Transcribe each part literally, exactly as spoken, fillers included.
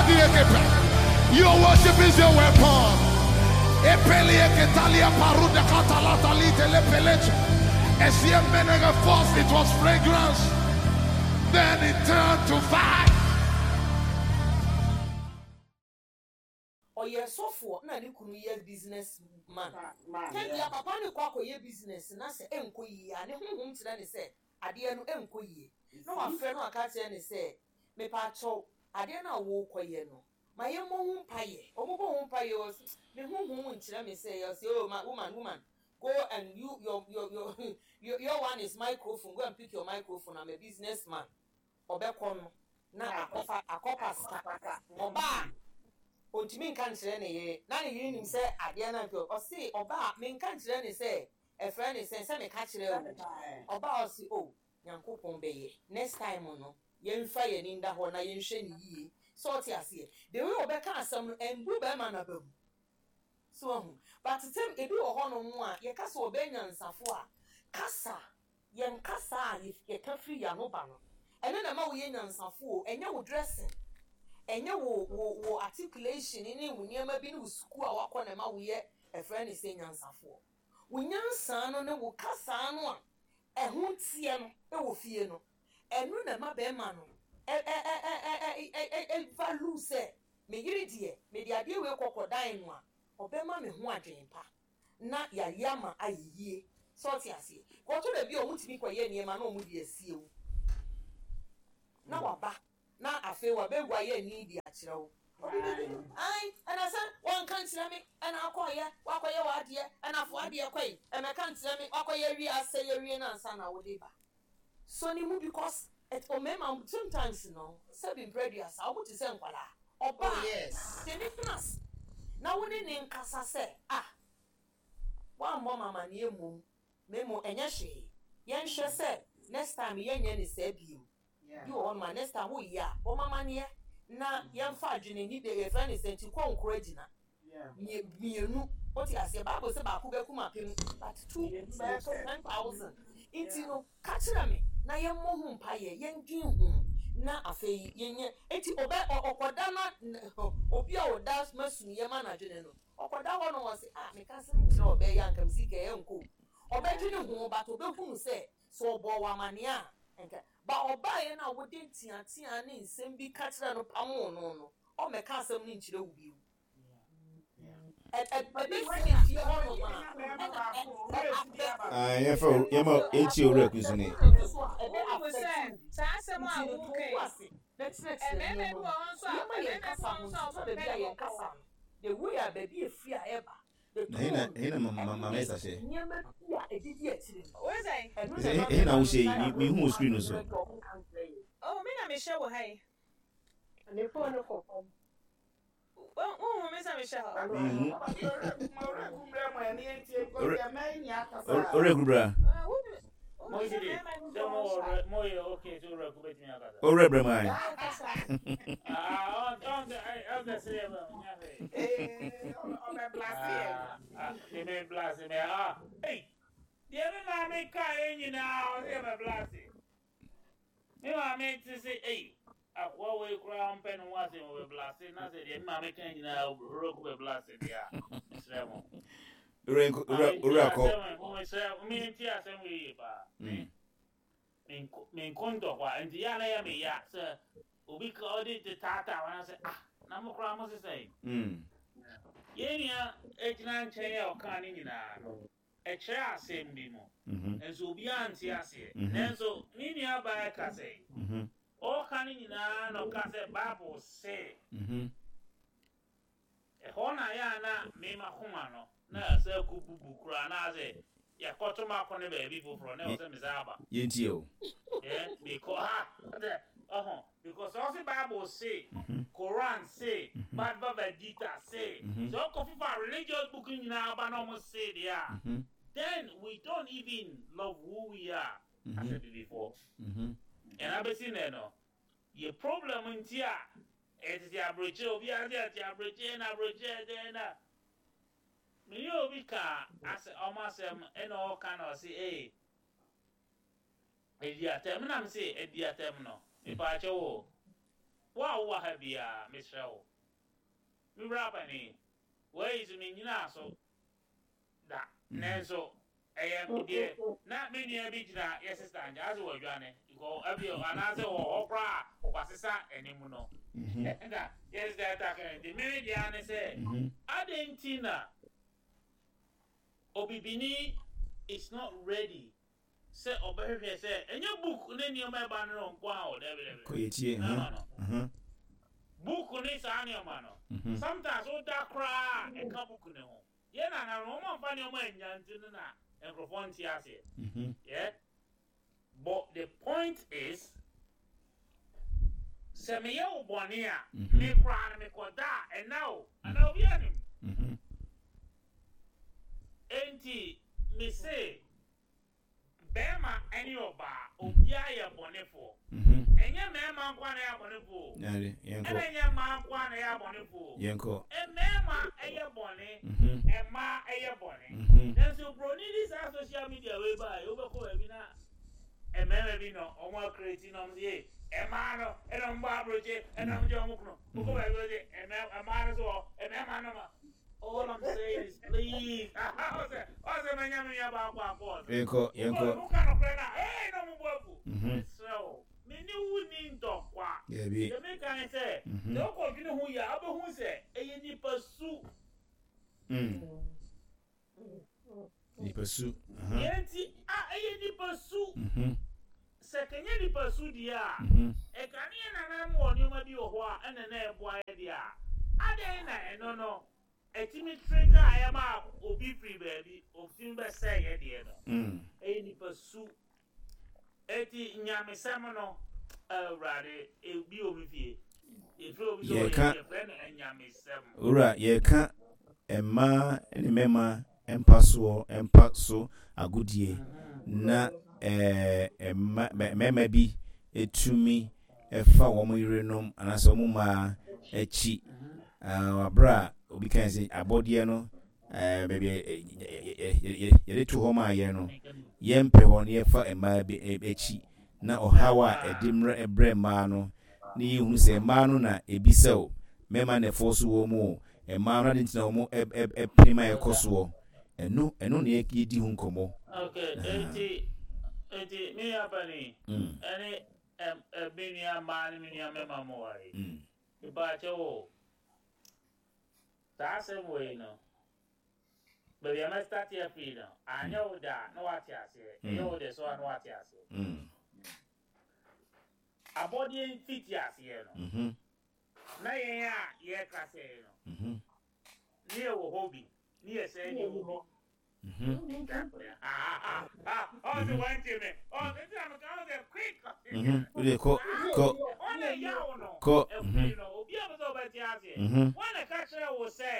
Your worship is your weapon. Epelie ketalia paruda katalata litele peleche. Esie menege. First it was fragrance, then it turned to fire. Ɔyɛ sɔfoɔ na ne kunu yɛ business man. Man, tɛnbia yeah. Papa ne kɔ akɔyɛ business na sɛ ɛnkɔ yie a, ne honhom kyerɛ ne sɛ adeɛ no ɛnkɔ yie, na wafrɛ no aka kyerɛ ne sɛ, mepaakyɛw, adeɛ no a wɔrekɔyɛ no, ma yɛmmɔ ho mpayɛ. Ɔmobɔ ho mpayɛ, wɔ s- me honhom nkyerɛ me sɛ yɛ sɛ, "Oh, ma woman, woman, go and you your your your your, your one is microphone. Go and pick your microphone. I'm a businessman." Ɔbɛkɔ no na akɔfa akɔpa sika. Ɔbaa, ontumi nka nkyerɛ ne yere, na ne yere nim sɛ adeɛ no nkɛ. Ɔse ɔbaa, menka nkyerɛ ne sɛ ɛfrɛ ne sɛ sɛ meka kyerɛ wo. Ɔbaa, ɔse, "O, Nyankopɔn bɛyɛ. Next time no, yɛmfa yɛni nda hɔ na yɛnhwɛ ne yie." Sɛ ɔte aseɛ, the way ɔbɛka asɛm no, ɛmbu bɛrima no aba mu so ahu. But tɛm ebi wɔ hɔnom a yɛka sɛ ɔbɛyɛ nyansafo a, kasa, yɛn kasa a yɛ- yɛka firi yɛn ano ba no, ɛno na ɛma woyɛ nyansafo o. Ɛnyɛ wo dressing, ɛnyɛ wo wo wo articulation ne wo nneɛma bi ne wo sukuu a wakɔ na ɛma woyɛ ɛfrɛ ne sɛ nyansafoɔ. Wo nyansa no ne wo kasa no a ɛho teɛ no ɛwɔ fie no, ɛno na ɛma bɛrima no ɛ ɛ ɛ ɛ ɛ ɛ ɛ ɛ value sɛ me yere deɛ, mede adeɛ wei kɔkɔ dan no a, ɔbɛma me ho adwene pa na yɛayɛ ama ayɛ yie. Sɛ ɔte aseɛ, kɔtɔ da bi a ɔmo tumi kɔyɛ nneɛma na ɔmo de asie wo na waba na afei wabɛwu ayɛ ani de akyerɛ wo. Obi bɛbi ai, ɛna sɛ wɔnka nkyerɛ me, ɛna akɔyɛ wakɔyɛ w'adeɛ, ɛna afo adeɛ kɔyi, ɛmɛka nkyerɛ me, wakɔyɛ wie asɛ yɛ wie na ansa na wode ba so ne mu, because ɛt ɔmɛɛma sometimes no, sɛbi, mpɛ aduasa, ɔmo te sɛ nkwalaa. Ɔbaa Oh, yes. de ne tena ase na wo ne ne nkasa sɛ, ah, woammɔ ma amanneɛ mmom na mmom ɛnyɛ hwee, yɛnhwɛ sɛ next time yɛnyɛ ne saa bio. Yeah. Bi wɔ hɔ nom a, next time woyɛ a, bɔ ma amanneɛ na yɛmfa adwene ni de yɛfrɛ ne sɛ nti kɔ nkoro agyina. Yeah. Mie- mmienu wote aseɛ, Bible sɛ baako bɛkum apem, but two Mmienu bɛyɛ sɛ. ten thousand. Nti no, ka kyerɛ me na yɛmmɔ ho mpayɛ, yɛndwen ho na afei yɛnyɛ. Enti ɔbɛ ɔ- ɔkɔda na n- obi a ɔda masu yɛ ma n'adwene no, ɔkɔda hɔ no, wɔ se, ah, meka se nkyerɛ ɔbɛyɛ anka me sika ɛyɛ nko. Ɔbɛdwene ho, but ɔbɛhunu sɛ sɛ ɔbɔ wɔ amanneɛ a nka ba ɔbaeɛ no a, wode nteatea ne nsɛm bi ka kyerɛ no pamoo no no ɔmmɛka asɛm no nkyerɛ wo bio. Ɛ- ɛ- ɛbɛsi fie hɔ nom a, ɛna ɛ- ɛ- afɛ Ah, yɛmfa yɛma yɛntie Owura Kusuni. Wohu sɛ saa asɛm a woka yi, mmarima bi wɔ hɔ nso a mmarima bi wɔ hɔ nso a wɔmpɛ ne bɔkɔɔ. The way a baabi efi a ɛba, the Na ɛhe na tone, ɛhe na ma ma ma Esther hyɛ? Nneɛma bi a ɛdidi akyire no, Wo sɛ ɛno Sɛ na ɛhe na wohyɛ yi? Me- mehu wo screen no so. Oh, me na mehyɛ wɔ ha yi. Ne phone no kɔ fam. Wo- wohu me sɛ mehyɛ hɔ? Mehu. Owura Kubra. Ah, wo- wohu sɛ Mo mmarima bi sɛ wɔ mo hɔ nso a wɔ mo yɛ okay, sɛ Owura Ku bɛtumi akasa. Owura Brɛman. Ah, ɔn ɔn ɔn sɛ sɛ yɛ bɛ nya hwee. Ah, ah, de me blase me, ah, ei, deɛ me maame kaa yɛ nyinaa, ɔsɛ yɛ mɛ blase me maame te sɛ, ei, akoa wei koraa mpɛ ne ho asɛm, ɔbɛ blase na sɛ deɛ me maame kaa nyinaa, Owura Ku bɛ blase deɛ a, mesrɛ mo. Owura nko- owura owura kɔ. Mesrɛ, mente asɛm wei yie paa. Mm. Menko ntɔkwa nti yɛ a na yɛ me ya sɛ obi ka ɔde te taataa wɔn sɛ, ah, na mo koraa mo sesɛn. Mm. Yɛn nua egyina nkyɛn a ɔka ne nyinaa no, ɛkyerɛ asɛm bi mu Mhm. nso obiara nte aseɛ. Mhm. Nanso ne nua baa ka sɛ Mhm. ɔka ne nyinaa na ɔka sɛ Bible se Mhm. ɛhɔ na yɛ a na mema koma no na ɛsɛ kɔ bubu koraa na sɛ yɛkɔto ma akɔ ne baabi foforɔ na ɛwɔ sɛ mesa aba. Yɛntie o. Yeah, because ha ɔhɔ because ɔsi Bible say, Mhm. Quran say, Bhagavad Gita say, Mhm. so ɔkɔ fifa religious book nyinaa aba na ɔmo say deɛ a, Mhm. then we don't even love who we are as Mhm. a before. Mhm. Ɛna bɛsi nɛ no yɛ problem nti a ɛtete aburokyire, obiara sɛ ɛte aburokyire na aburokyire ɛdɛn na mene obi ka asɛ ɔmo asɛm, ɛna ɔka na ɔse ee, edi atɛm, nam se edi atɛm no, mipaakyɛ wo wo a wowɔ ha biara, mesrɛ wo. Me wura panin, wei so mennyinaa so da. Nanso ɛyɛ deɛ na me nua bi gyina yɛ sister nkyɛn ase wɔadwane because ɛbi anaasɛ wɔ hɔ koraa a wasesa anim no. Na yɛ sister ɛta kan nti me deɛ ne sɛ adɛn nti na obibini is not ready sɛ ɔbɛhwehwɛ sɛ ɛnyɛ book ne nneɛma ɛba no no nko a o, dabi dabi. Kɔ yɛtie. No, no, no. Book ne saa nneɛma no, sometimes woda koraa a ɛka book ne ho. Yɛn nana no, wɔn amfa nneɛma anya nti no na nkurɔfoɔ nte aseɛ. Yeah, but the point is sɛ meyɛ wo bɔne a, me koraa no mekɔda a ɛna o ana obi anim. Enti me se bɛrima ɛne ɔbaa, obiara yɛ bɔnefoɔ. Ɛnyɛ mmarima nko a na ɛyɛ abɔnefoɔ o. Yare, yɛnkɔ. Ɛna ɛnyɛ mmaa nko a na ɛyɛ abɔnefoɔ o. Yɛnkɔ. Mmarima ɛyɛ bɔne, mmaa ɛyɛ bɔne. Nanso broni di saa social media wei ba yi, wobɛkɔ baabi na mmarima bi na ɔmo acreate na ɔmo sɛ mmaa no ɛna ɔmo bɔ aburokye ɛna ɔmo gye ɔmo kunu. Wokɔ baabi wɔ sɛ mmaa no so wɔ mmarima no ma. All I'm saying is please. Ɔsɛ ɔsɛ mɛnya mi nua baako akɔ ɔsɛ. Yɛnkɔ, yɛnkɔ. Woka nokorɛ na ee na ɔmo bɔ agu. Mesrɛ wo, me ne wo ni ntɔkwa. Dabi. Deɛ meka ne sɛ, sɛ wokɔdwene ho yie a, wobɛhu sɛ ɛyɛ nipa su. Mm. Nipa su. Deɛ nti a ɛyɛ nipa su. Sɛ kɛnyɛ nipa su deɛ a, ɛka ne yɛ nananom wɔ nneɛma bi wɔ hɔ a ɛna na ɛboa yɛ deɛ a, adɛn na ɛno no ɛtumi trigger a ɛma obi firi baabi otumi bɛsɛe yɛ deɛ no? Ɛyɛ nipa su. Eti nyamesɛm no, Awurade, ebi wɔ mi fie. Efiri obi sɛ ɔyɛ Yɛka. yɛfrɛ no nyamesɛm. Owura, yɛka mmaa ne mmarima mpa soɔ mpa so agodie na ɛɛ mma mmarima bi etumi ɛfa wɔn yerenom anaasɛ wɔn mmaa akyi abere a obi kan sɛ abɔdeɛ no ɛɛ baabi yɛde to hɔ maa yɛn no, yɛmpɛ hɔ no, yɛfa mmaa bi akyi na ɔhaw a ɛde mmerɛ brɛ mmaa no ne yɛhunu sɛ mmaa no na ebi sɛ o mmarima na ɛfɔ so wɔ mu o, mmaa no ade ntina wɔn ɛpene ma ɛkɔ soɔ. Ɛno ɛno na yɛdi ho nkɔmmɔ. Okay, eti eti me nua panin ɛne ɛm ɛ me nua mmaa ne me nua mmarima mo wɔ yi. Mpaakyɛ wo, saa asɛm wei no, baabi a mɛstart afiri no, anyɛ wo da na wate aseɛ, ɛyɛ wo de so a na wate aseɛ. Abɔdeɛ mfiti aseɛ no, na yɛn a yɛreka sɛ no, ne yɛwɔ hɔ bi ne yɛsɛn ne wɔ bi. Ɔsɛ wɔnte me ɔsɛ nti na meka wo sɛ quick. Wode kɔ kɔ. Wɔne yaw no kɔ. Afiri no, obi a pɛ sɛ ɔbɛte aseɛ, wɔne ka kyerɛ wo sɛ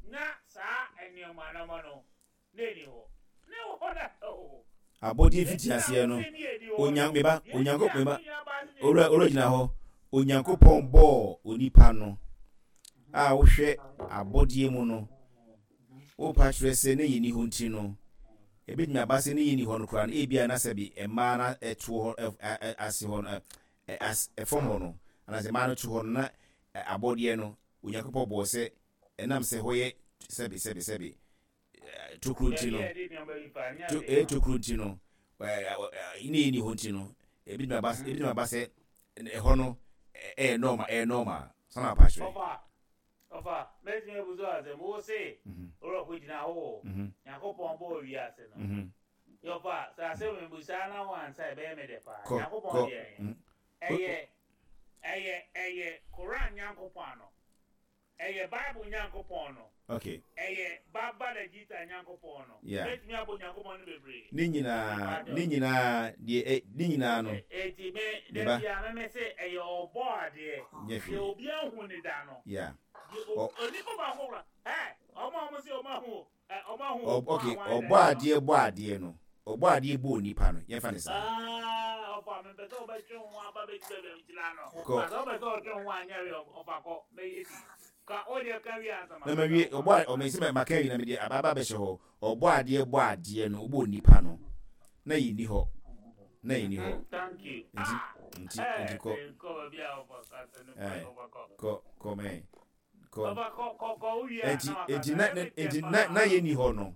na saa nneɛma nneɛma no na ɛni hɔ ne wɔ hɔ da o. Abɔdeɛ fiti aseɛ no, onya meba Onyanko meba, owura, owura gyina hɔ. Onyankopɔn bɔɔ onipa no a wohwɛ abɔdeɛ mu no, wopa kyerɛ sɛ ne yɛni hɔ nti no, ebitumi aba sɛ ne yɛni hɔ no koraa no, ebia na sɛbi mmaa na ɛto hɔ ase hɔ no, as ɛfam hɔ no, anaasɛ mmaa no to hɔ no na abɔdeɛ no Onyankopɔn bɔɔ sɛ ɛnam sɛ hɔ yɛ sɛbi sɛbi sɛbi tokuro nti no, to ɛyɛ tokuro nti no, ɛɛ ne yɛni hɔ nti no, ebitumi aba ebitumi aba sɛ ɛhɔ no ɛyɛ normal, ɛyɛ normal sanni apa kyerɛ. Ɔfa ɔfa mɛtumi abu so asɛm wo se ɔrɔ ko gyina hɔ o, Nyankopɔn bɔɔ wiase no, yɔfa sɛ asɛm mbusaa na wansa ɛbɛyɛ me dɛ paa. Kɔ. Nyankopɔn Kɔ. deɛ ɛyɛ ɛyɛ ɛyɛ Koran Nyankopɔn no, ɛyɛ Bible Nyankopɔn no, okay ɛyɛ Bhagavad Gita Nyankopɔn no. Yeah. Mɛtumi abɔ Nyankopɔn no bebree. Ne nyinaa ne nyinaa deɛ ɛ ne nyinaa no. Eti me Ne ba. dabi a meme se ɛyɛ ɔbɔ adeɛ Nyɛ deɛ hwee. obi ahu ne da no. Yeah. Deɛ o- Ɔ- onipa baako kora ɛ ɔmo a ɔmo se ɔmo ahu ɛ ɔmo ahu Ɔ- okay wɔn a wɔn ɔbɔ adeɛ bɔ adeɛ no, ɔbɔ adeɛ bɔ onipa no, yɛmfa ne saa. Ah, ɔfa mepɛ sɛ ɔbɛtwe ho aba bɛsi baabi a megyina no. Kɔ. Na sɛ wopɛ sɛ ɔtwe ho anyɛ hwee, ɔfa kɔ mɛyɛ bi ka wodeɛ ka wie ansa. Na ma wie ɔbɔ a ɔmɛ sɛ maka wie na mede aba aba bɛhyɛ hɔ. Ɔbɔ adeɛ bɔ adeɛ no, ɔbɔ onipa no na yɛnni hɔ na yɛnni hɔ. Thank you. Nti Ah. Nti nti kɔ. Kɔ kɔ mɛ kɔ. Nti nti na nti na na yɛ ni hɔ no.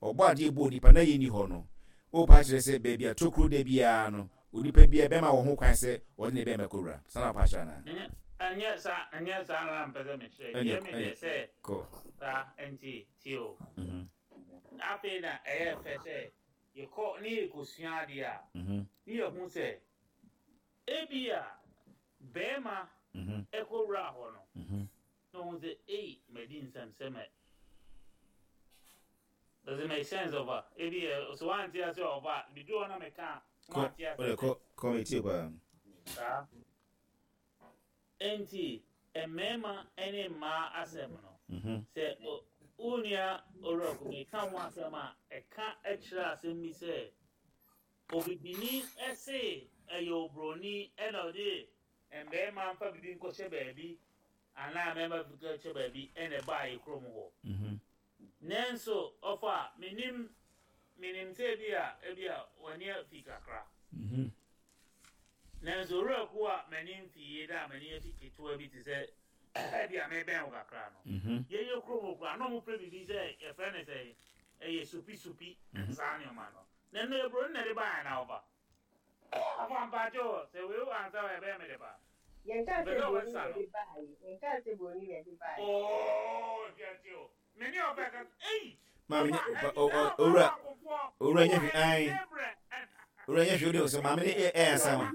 Ɔbɔ adeɛ bɔ nipa na yɛ ni hɔ no. O pa kyerɛ sɛ baabi a tokuro da biara no onipa biara bɛma wɔ ho kwan sɛ ɔde ne bɛn bɛkɔ Sana pa kyerɛ na. Ɛnyɛ saa ɛnyɛ saa na mpɛ sɛ mekyerɛ. Deɛ me deɛ sɛ kɔ. Saa nti tie o. Afei na ɛyɛ fɛ sɛ yɛkɔ ne yɛkɔsua adeɛ a ne yɛhu sɛ ebi a bɛrima ɛkɔwura hɔ no na ɔhu sɛ ei madi nsɛmsɛm ɛ. Does it make sense ɔba? Ebi ɛ so wante ase ɔba bidu hɔ na meka wante ase. Kɔ kɔ metie paa. Saa. Enti mmarima ne mmaa asɛm no sɛ wo nua owura kumi ka ho asɛm a ɛka kyerɛ asɛm bi sɛ obibini ɛse ɛyɛ obroni ɛna ɔde mmarima mfa bibi nkɔhyɛ baabi anaa mmarima bi nkɔhyɛ baabi ɛna ɛbaa yɛ kurom hɔ. Nanso ɔfa menim menim sɛ ebi a ebi a w'ani afi kakra. Nanso owura ku a m'ani mfi yie da a m'ani afi ketewa bi te sɛ ebi a mebɛn wo kakra no. Yɛyɛ kurom hɔ koraa na ɔmo frɛ biribi sɛ yɛfrɛ no sɛ ɛyɛ supi supi saa nneɛma no. Na ɛno eburoni na ɛde baa na ɔba. Ɔfa mpakyɛw sɛ wei wɔ ansa wɔ ɛbɛyɛ me de ba. Yɛnka sɛ buroni na ɛde baeɛ. Yɛnka sɛ buroni na ɛde baeɛ. Oo hwɛ o. Mene ɔbɛ ka ei. Maame nye owura owura nye hwee ayi. Owura nye hwee o de sɛ maame ne ɛ ɛ ansa ma.